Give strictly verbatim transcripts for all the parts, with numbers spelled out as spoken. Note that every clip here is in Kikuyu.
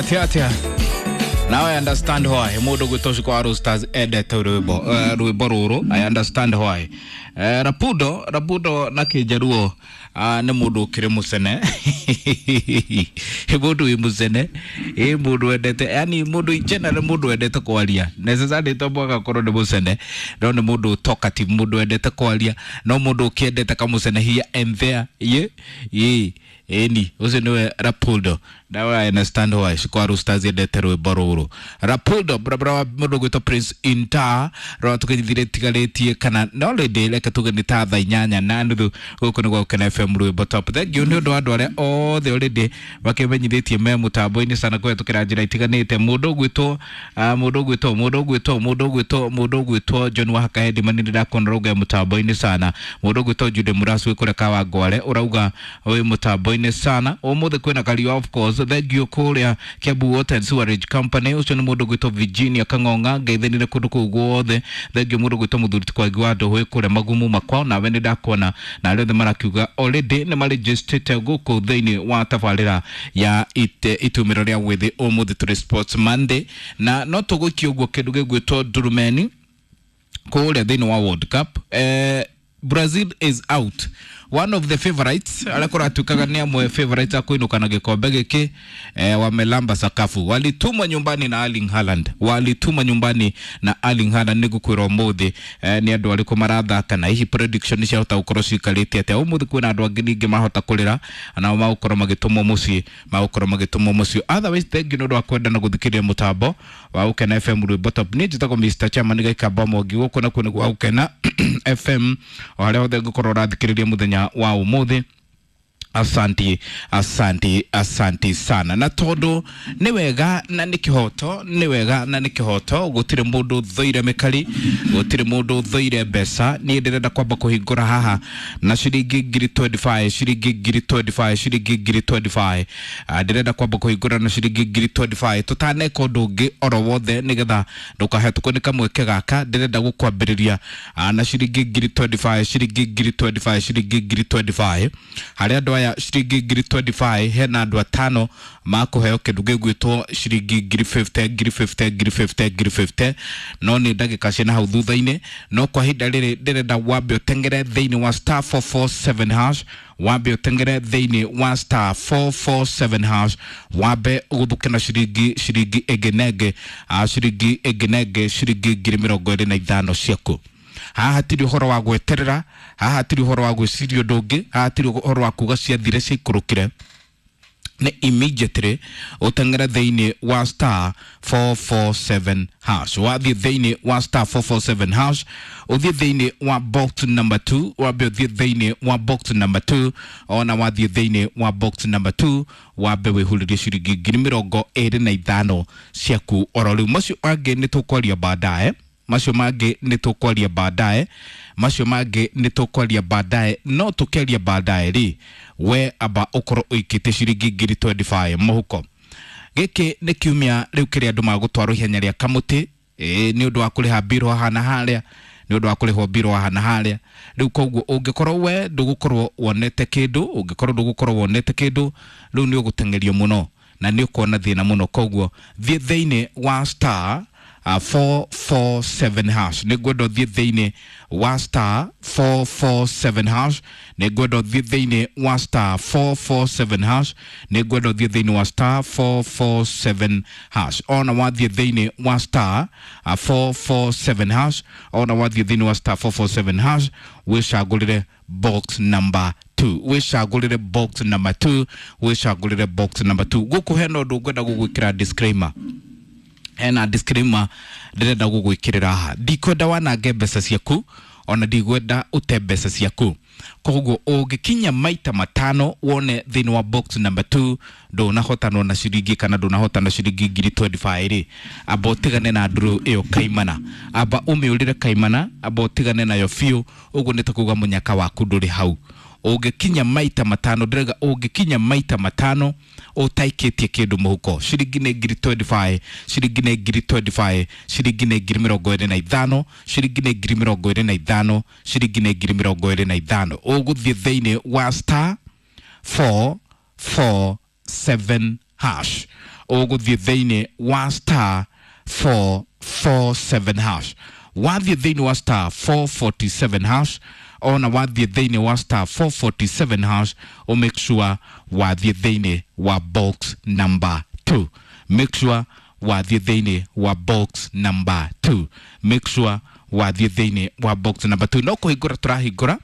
Atia atia. Now I understand why mundu gwitwo Shiko wa Roosters endete rwimbo uh, rwimbo ruru. I understand why. Uh, Rapudo Rapudo na Kijaruo uh, nĩ mũndũ ũkĩrĩ mũcene. Mũndũ wĩ mũcene, ĩ mũndũ wendete, yani mũndũ general, mũndũ wendete kwaria necessarily to mwaka korwo nĩ mũcene, no nĩ mũndũ talkative, mũndũ wendete kwaria, no mũndũ ũkĩendete kamũcene here and there. Ye ye eni ucio niwe Rapudo. Now I understand why Shiko wa Roosters endete rwimbo ruru. Rapudo barabara wa mũndũ gwĩtwo Prince Inter rora tukinyithire tigarĩtie kana no rĩndĩ reke tuge nĩ ta thaa inyanya na nuthu. Gũkũ nĩ gwa Gũkena F M rwimbo top. Thank you nĩ ũndũ wa andũ arĩa othe already makĩmenyithĩtie me mũtambo-inĩ sana kũhetũkĩra njĩra itiganĩte. Mũndũ ũgwĩtwo mũndũ ũgwĩtwo mũndũ ũgwĩtwo mũndũ ũgwĩtwo mũndũ ũgwĩtwo John wa Hakahendi mani nĩndakona ũrauga mũtambo-inĩ sana. Mũndũ ũgwĩtwo Jude Murasu wĩ kũrĩa Kawangware ũrauga wĩ mũtambo-inĩ sana. Ũmũthĩ kwĩna Kariua, of course. Thank you kũrĩa Kiambu Water and Sewerage Company. Ũcio nĩ mũndũ ũgwĩtwo Virginia Kang'ong'a ngeithanire kũndũ kũu guothe. Thank you mũndũ ũgwĩtwo Mũthuri Kwangi wa Ndũhũ kũrĩa Magumu makwao, nawe nĩ ndakuona na arĩa othe marakiuga already nĩ marejistĩte gũkũ thĩinĩ wa tabarĩra ya ite itumĩro rĩa gwĩthĩ. Ũmũthĩ tũrĩ Sports Monday na no tũgũikia ũguo kĩndũ gĩgwĩtwo ndurumeni kũrĩa thĩinĩ wa World Cup. Eh, Brazil is out, one of the favorites arĩa kũratuĩkaga nĩ amwe favorites a kũinũka na gĩkombe gĩkĩ, eh, wamelamba sakafu, walitumwa nyumbani na Erling Haaland, walitumwa nyumbani na Erling Haaland. Nĩngũkwĩra ũmũthĩ eh, nĩ andũ arĩkũ marathaka na hihi prediction ciahota gũkorwo ciikarĩte atĩa. Ũmũthĩ kwĩna andũ angĩ ningĩ mahota kũrĩra nao magũkorwo magĩtũmwo mũciĩ, magũkorwo magĩtũmwo mũciĩ. Otherwise thank you nĩ ũndũ wa kwenda na gũthikĩrĩria mũtambo wa Gũkena F M rwimbo top. Niĩ njĩtagwo Mister Chairman Gĩkamba Mwangi, gũkũ nakuo nĩ gwa Gũkena F M o harĩa hothe ngũkorwo ũrathikĩrĩria mũthenya wa ũmũthĩ. Asanti, asanti, asanti sana. Na tondu nĩ wega na nĩ kĩhoto, nĩ wega na nĩ kĩhoto, gũtirĩ mũndũ ũthũire mĩkari, gũtirĩ mũndũ ũthũire mbeca. Niĩ ndĩrenda kwamba kũhingũra haha na ciringi ngiri twenty-five, ciringi ngiri twenty-five, ciringi ngiri twenty-five. Ah, ndĩrenda kwamba kũhingũra na ciringi ngiri twenty-five tũtaneka ũndũ ũngĩ oro wothe, nĩgetha ndũkahetũkwo nĩ kamweke gaka. Ndĩrenda gũkwambĩrĩria na ciringi ngiri twenty-five, ciringi ngiri twenty-five, ciringi ngiri twenty-five. Harĩa andũ aya ciringi ngiri twenty-five hena andũ atano makũheo kĩndũ gĩgwĩtwo ciringi ngiri fifty, ngiri fifty, ngiri fifty, ngiri fifty. No nĩ ndagĩka ciĩna hau thutha-inĩ, no kwa ihinda rĩrĩ ndĩrenda wambe ũteng'ere thĩinĩ wa star four four seven hash, wambe ũteng'ere thĩinĩ wa star four four seven hash, wambe ũgũthũke na ciringi ciringi ĩngĩ na ĩngĩ, ciringi ĩngĩ na ĩngĩ, ciringi ngiri mĩrongo ĩrĩ na ithano ciaku. Haha hatirĩ ũhoro wa gweterera, haha hatirĩ ũhoro wa gwĩciria ũndũ ũngĩ, haha hatirĩ ũhoro wa kuga ciathire ciaikũrũkire. Nĩ immediately ũteng'ere thĩinĩ wa star four four seven hash. Wathiĩ thĩinĩ wa star four four seven hash, ũthiĩ thĩinĩ wa box number two, wambe ũthiĩ thĩinĩ wa box number two, ona wathiĩ thĩinĩ wa box number two, wambe wĩhurĩrie ciringi ngiri mĩrongo ĩrĩ na ithano ciaku oro rĩu. Macio mangĩ nĩ tũkwaria baadaye, macio mangĩ nĩ tũkwaria baadaye, macio mangĩ nĩ tũkwaria baadaye. No tũkĩaria baadaye rĩ, we amba ũkorwo ũikĩtie ciringi ngiri twenty-five mũhuko. Gĩkĩ nĩ kiumia rĩu kĩrĩa andũ magũtwarwo ihenya rĩa kamũtĩ, ĩĩ, nĩ ũndũ wa kũrĩha mbirũ haha na harĩa, nĩ ũndũ wa kũrĩhwo mbirũ haha na harĩa. Rĩu koguo ũngĩkorwo we ndũgũkorwo wonete kĩndũ, ũngĩkorwo ndũgũkorwo wonete kĩndũ, rĩu nĩ ũgũteng'erio mũno na nĩ ũkuona thĩna mũno. Koguo thiĩ thĩinĩ wa star Uh, four four seven hash. Nĩ ngwenda ũthiĩ thĩinĩ wa star four four seven hash, nĩ ngwenda ũthiĩ thĩinĩ wa star four four seven hash, nĩ ngwenda ũthiĩ thĩinĩ wa star four four seven hash. Ona wathiĩ thĩinĩ wa star uh, four four seven hash, ona wathiĩ thĩinĩ wa star four four seven hash, wĩcagũrĩre box number two, wĩcagũrĩre box number two, wĩcagũrĩre box number two. Gũkũ hena ũndũ ngwenda gũgwĩkĩra disclaimer, hena disclaimer ndĩrenda gũgwĩkĩrĩra haha. Ndikwenda wanange mbeca ciaku, ona ndikwenda ũte mbeca ciaku. Koguo ũngĩkinya maita matano wone thĩinĩ wa box number two ndũnahotanwo na ciringi kana ndũnahotana ciringi ngiri twenty-five rĩ, amba ũtigane na ndũrũ ĩyo kaimana, amba ũmĩũrĩre kaimana, amba ũtigane nayo biũ. Ũguo nĩ ta kuga mũnyaka waku ndũrĩ hau. Ũngĩkinya maita matano, ndĩrauga ũngĩkinya maita matano ũtaikĩtie kĩndũ mũhuko, ciringi nĩ ngiri twenty-five, ciringi nĩ ngiri twenty-five, ciringi nĩ ngiri mĩrongo ĩrĩ na ithano, ciringi nĩ ngiri mĩrongo ĩrĩ na ithano, ciringi nĩ ngiri mĩrongo ĩrĩ na ithano. Ũgũthiĩ thĩinĩ wa star four four seven hash. Ũgũthiĩ thĩinĩ wa star four four seven hash. Wathiĩ thĩinĩ wa star four forty-seven hash, ona wathiĩ thĩinĩ wa star four forty-seven hash, o make sure wathiĩ thĩinĩ wa box number two. Make sure wathiĩ thĩinĩ wa box number two. Make sure wathiĩ thĩinĩ wa box number two. No kũhingũra tũrahingũra,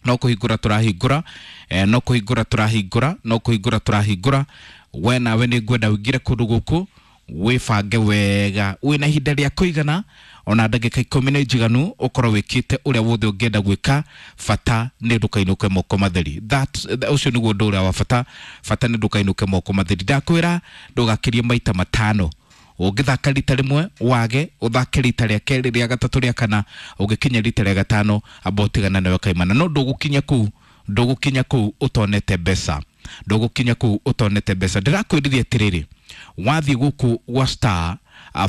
no kũhingũra tũrahingũra, eh, no kũhingũra tũrahingũra, no kũhingũra tũrahingũra. We nawe nĩ ngwenda ũingĩre kũndũ gũkũ wĩbange wega, wĩna ihinda rĩa kũigana, ona ndagĩka ikũmi nĩ njiganu ũkorwo wĩkĩte ũrĩa wothe ũngĩenda gwĩka. Bata nĩ ndũkainũke moko matheri. That ũcio nĩguo ũndũ ũrĩa wa bata. Bata nĩ ndũkainũke moko matheri. Ndakwĩra ndũgakĩrie maita matano. Ũngĩthaka rita rĩmwe wage, ũthake rita rĩa kerĩ, rĩa gatatũ, rĩa kana, ũngĩkinya rita rĩa gatano amba ũtigana nawe kaimana. No ndũgũkinya kũu, ndũgũkinya kũu ũtonete mbeca, ndũgũkinya kũu ũtonete mbeca. Ndĩrakwĩrire atĩrĩrĩ, wathiĩ gũkũ gwa star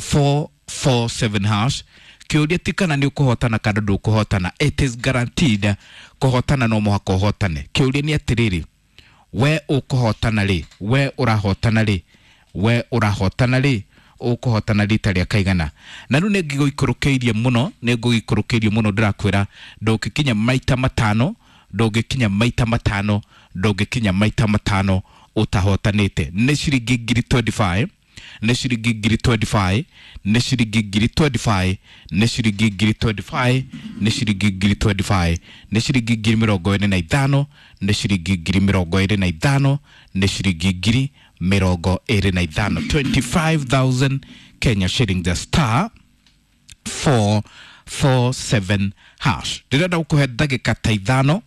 four four seven hash, kĩũria ti kana nĩ ũkũhotana kana ndũkũhotana, it is guaranteed kũhotana no mũhaka ũhotane. Kĩũria nĩ atĩrĩrĩ, we ũkũhotana rĩ, we ũrahotana rĩ, we ũrahotana rĩ, ũkũhotana rita rĩa kaigana. Na rĩu nĩ ngĩgũikũrũkĩirie mũno, nĩ ngũgĩikũrũkĩirie mũno, ndĩrakwĩra ndũngĩkinya maita matano, ndũngĩkinya maita matano, ndũngĩkinya maita matano ũtahotanĩte. Nĩ ciringi ngiri twenty-five, nĩ ciringi ngiri twenty-five, nĩ ciringi ngiri twenty-five, nĩ ciringi ngiri twenty-five, nĩ ciringi ngiri twenty-five, nĩ ciringi ngiri mĩrongo ĩrĩ na ithano, nĩ ciringi ngiri mĩrongo ĩrĩ na ithano, nĩ ciringi ngiri mĩrongo ĩrĩ na ithano, twenty-five thousand Kenya shilling, the star four four seven hash. Ndĩrenda gũkũhe ndagĩka ta ithano,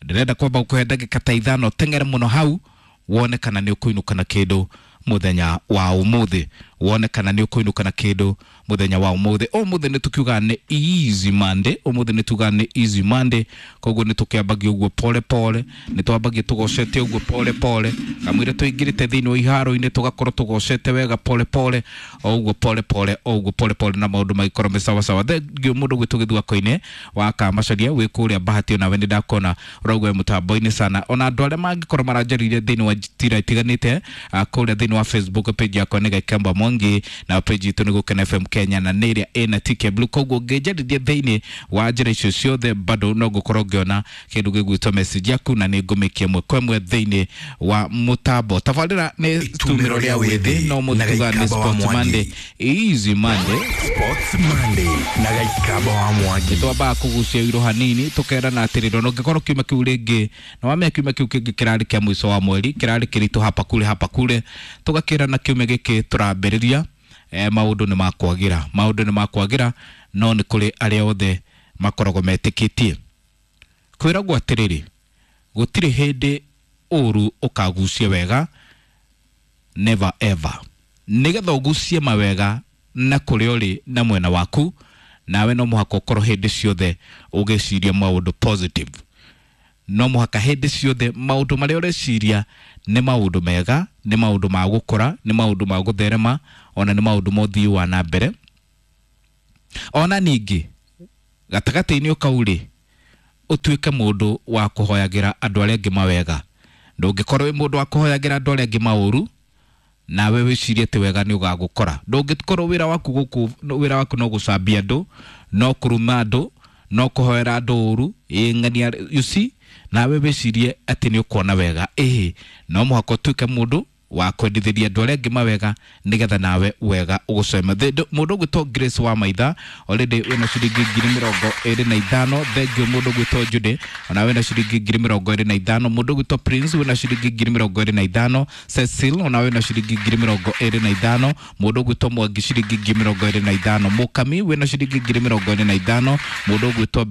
ndĩrenda kwamba gũkũhe ndagĩka ta ithano, teng'ere mũno hau wone kana nĩ ũkũinũka na kĩndũ mũthenya wa ũmũthĩ, wone kana nĩ ũkũinũka na kĩndũ mũthenya wa ũmũthĩ. Ũmũthĩ nĩ tũkiuga nĩ easy Monday, ũmũthĩ nĩ tuga nĩ easy Monday, koguo nĩ tũkĩambagia ũguo pole pole, nĩ twambagia tũgocete ũguo pole pole, kamũira tũingĩrĩte thĩinĩ wa iharo-inĩ tũgakorwo tũgocete wega pole pole, o ũguo pole pole, o ũguo pole pole, na maũndũ magĩkorwo me sawa sawa. Thengiũ mũndũ gwitũ Gĩthwako-inĩ wa Kamacaria wĩ kũrĩa Bahati, onawe nĩ ndakona ũrauga wĩ mũtambo-inĩ sana. Ona andũ arĩa mangĩkorwo maranjarĩirie thĩinĩ wa njĩra itiganĩte kũrĩa thĩinĩ wa Facebook page yakwa nĩ Gĩkemba Mwangi, na page itũ nĩ Gũkena F M Kenya, na nĩ ĩrĩa ĩna T K Blue. Koguo ũngĩnjarĩria thĩinĩ wa njĩra icio ciothe bado no ngũkorwo ngĩona kĩndũ gĩgwĩtwo message yaku, na nĩ ngũmĩkia ĩmwe kwa ĩmwe thĩinĩ wa mũtambo. Tabarĩra nĩ Itumĩro rĩa wĩthĩ no na mũtuga nĩ Gĩkamba wa Sports Mwangi. Monday, Easy Monday, Sports Monday na Gĩkamba wa Mwangi. Twambaga kũgucia iro hanini tũkerana atĩrĩrĩ, ona ũngĩkorwo kiumia kĩu rĩngĩ na wamenya kiumia kĩu kĩngĩ kĩrarĩ kĩa mũico wa mweri, kĩrarĩ kĩritũ hapa kule hapa kule, tũgakĩrana kiumia gĩkĩ tũrambĩrĩria, eh, maũndũ nĩ makwagĩra, maũndũ nĩ makwagĩra, no nĩ kũrĩ arĩa othe makoragwo metĩkĩtie. Kwĩragwo atĩrĩrĩ, gũtirĩ hĩndĩ ũru ũkagucia wega, never ever. Nĩgetha ũgucie mawega na kũrĩa ũrĩ na mwena waku, nawe no mũhaka ũkorwo hĩndĩ ciothe ũgĩciria maũndũ positive. No mũhaka hĩndĩ ciothe maũndũ marĩa ũreciria nĩ maũndũ mega, nĩ maũndũ ma gũkũra, nĩ maũndũ ma gũtherema, ona nĩ maũndũ ma ũthii wa na mbere. Ona ningĩ gatagatĩ-inĩ kau rĩ, ũtuĩke mũndũ wa kũhoyagĩra andũ arĩa angĩ mawega. Ndũngĩkorwo wĩ mũndũ wa kũhoyagĩra andũ arĩa angĩ maũru, nawe wĩcirie atĩ wega nĩ ũgagũkora. Ndũngĩkorwo wĩra waku gũkũ, wĩra waku no gũcambia andũ, no kũruma andũ, no kũhoera andũ ũru, ĩ ng'ania, you see, nawe wĩcirie atĩ nĩ ũkuona wega. Ĩhĩ, no mũhaka ũtuĩke mũndũ wa kwendithĩria andũ arĩa angĩ mawega, nĩgetha nawe wega ũgũceme. Mũndũ ũgwĩtwo Grace wa Maitha already wĩna ciringi ngiri mĩrongo ĩrĩ na ithano. Thengiũ mũndũ ũgwĩtwo Judy ona wĩna ciringi ngiri mĩrongo ĩrĩ na ithano. Mũndũ ũgwĩtwo Prince wĩna ciringi ngiri mĩrongo ĩrĩ na ithano. Cecil ona wĩna ciringi ngiri mĩrongo ĩrĩ na ithano. Mũndũ ũgwĩtwo Mwangi ciringi ngiri mĩrongo ĩrĩ na ithano. Mũkami wĩna ciringi ngiri mĩrongo ĩrĩ na ithano. Mũndũ ũgwĩtwo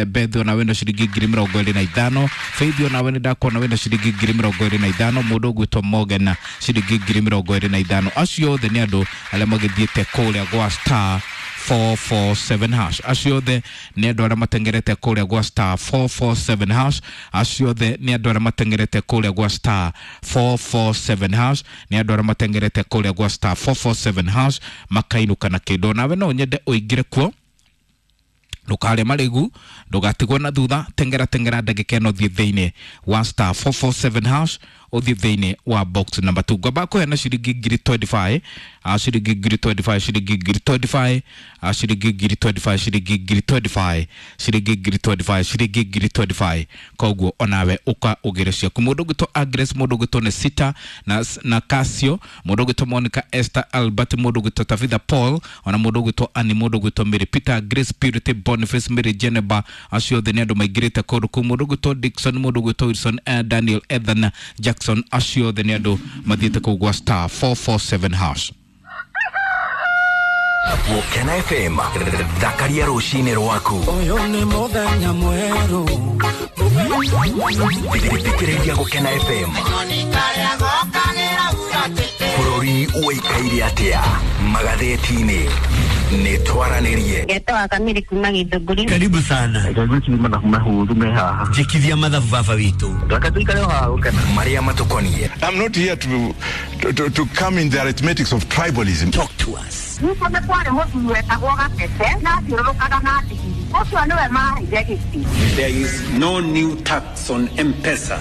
Beth ona wĩna ciringi ngiri mĩrongo ĩrĩ na ithano. Faith ona we nĩ ndakuona wĩna ciringi ngiri mĩrongo ĩrĩ na ithano. Mũndũ ũgwĩtwo Morgan ciringi ngiri mĩrongo ĩrĩ na ithano. Acio othe nĩ andũ arĩa magĩthiĩte kũrĩa gwa star four four seven hash. Acio othe nĩ andũ arĩa matengerete kũrĩa gwa star four four seven hash. Acio othe nĩ andũ arĩa matengerete kũrĩa gwa star four four seven hash. Nĩ andũ arĩa matengerete kũrĩa gwa star four four seven hash makainũka na kĩndũ. Nawe no nyende ũingĩre kuo, ndũkarĩe marĩgu, ndũgatigwo na thutha. Tengera tengera ndagĩka ĩno, thiĩ thĩinĩ wa star four four seven hash Ũthiĩ thĩinĩ wa box number two. Ngwamba kũheana ciringi ngiri mĩrongo ĩĩrĩ na ithano, ah, ciringi ngiri mĩrongo ĩĩrĩ na ithano, ciringi ngiri mĩrongo ĩĩrĩ na ithano, ah, ciringi ngiri mĩrongo ĩĩrĩ na ithano, ciringi ngiri mĩrongo ĩĩrĩ na ithano, ciringi ngiri mĩrongo ĩĩrĩ na ithano, ciringi ngiri mĩrongo ĩĩrĩ na ithano. Koguo onawe ũka ũgĩre ciaku. Mũndũ ũgwĩtwo Agnes, mũndũ ũgwĩtwo Nesita na, na Casio, mũndũ ũgwĩtwo Monica Esther Albert, mũndũ ũgwĩtwo Tabitha Paul, ona mũndũ ũgwĩtwo Annie, mũndũ ũgwĩtwo Mary Peter, Grace Purity, Boniface, Mary Geneba, acio othe nĩ andũ maingĩrĩte kũndũ kũu. Mũndũ ũgwĩtwo Dixon, mũndũ ũgwĩtwo Wilson, eh, Daniel, Ethan Jackson, acio othe nĩ andũ mathiĩte kũu gwa star four four seven hash. Gũkena F M, thakaria rũcinĩ rwaku. Ũyũ nĩ mũthenya mwerũ. Thikĩrĩria Gũkena F M. Bũrũri ũikaire atĩa magathĩti-inĩ? Nĩ twaranĩrie. Ngetwa Kamiri kuma Githũngũri. Karibu sana. Gwĩciria mathabu mahũthũ me haha. Njĩkithia mathabu, baba witũ. Reke tũikare o haha gũkena. Marĩa matũkoniĩ. I'm not here to, to, to, to come in the arithmetics of tribalism. Talk to us. Ningĩ nĩ kwarĩ mũthuri wetagwo Gatete na athiũrũrũkaga na ndigiri. Ũcio nĩwe maheire gĩtĩ. There is no new tax on M-Pesa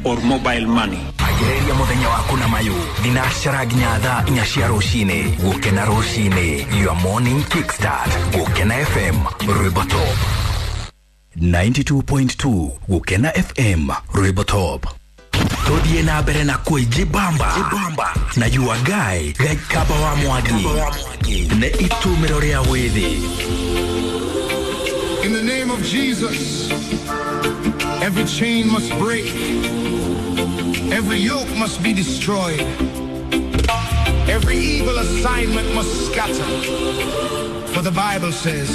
or mobile money. Agĩrĩria mũthenya waku na mayũ thinacara nginya thaa inya cia rũcinĩ. Gũkena rũcinĩ, your morning kickstart. Gũkena F M, rwĩmbo top ninety-two point two. Gũkena F M, rwĩmbo top. Tũthiĩ na mbere na kwĩjibamba na your guy Gaikaba wa Mwangi nĩ itumĩro rĩa wĩthĩ. In the name of Jesus, every chain must break, every yoke must be destroyed, every evil assignment must scatter. For the Bible says,